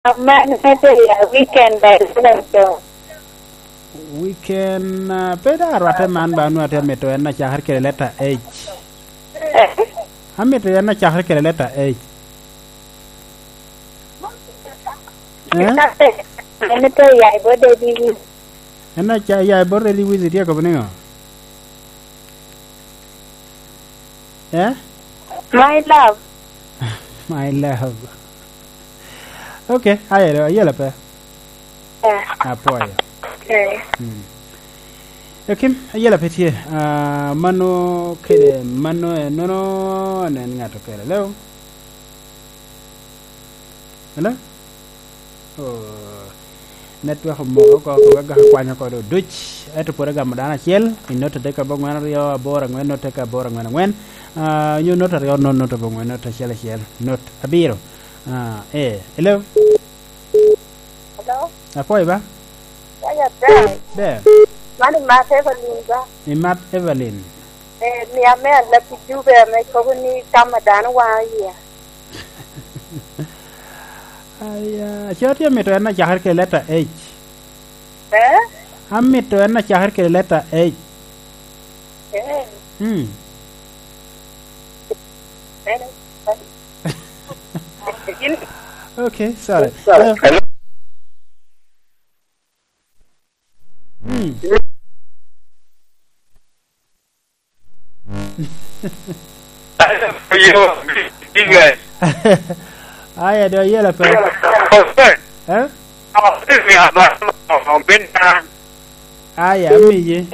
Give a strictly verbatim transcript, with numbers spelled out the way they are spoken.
Man me tye ya weekend, ba eleven to. Weekend, ah, pe da arwatte man ba onwoŋo atye amito en acakere kede leta H. Eh? Amito en acakere kede leta H. Eh? En tye ya i bot David. En aca-, ya i bot David Wizi tye akobo niŋo? Eh? My love. My love. Okay, ayelo, ayelo pe. Yeah. Apwoyo. Okay. Mm. Ekim, ayela pe tye. Ah, mano kede, mano enono, nen ŋat okele. Hello? Hello? Oh, network omoko oko, oko, agaka kwanyo oko do duc. Ento pwod agamo dano acel, i not adek aboŋwen aryo, aboro aŋwen, not adek aboro aŋwen aŋwen. Ah, nyo not aryo, not, not aboŋwen, not acel acel, not abiro. Ah, eh, hello? Hello? Apwoyo ba? Wanya ber. Ber. Man imat Evelyn ba? Imat Evelyn. Eh, mi ame alab i Juba ame kobo ni tam a dano waŋo iye. Aya, ce atye amito en acakere kede leta H. Eh? Amito en acakere kede leta H. Eh. Hmm. Eh. Okay, sorry. Hello? Hello? Hmm. Aya, do ayela pe. Eh? Aya, amiye.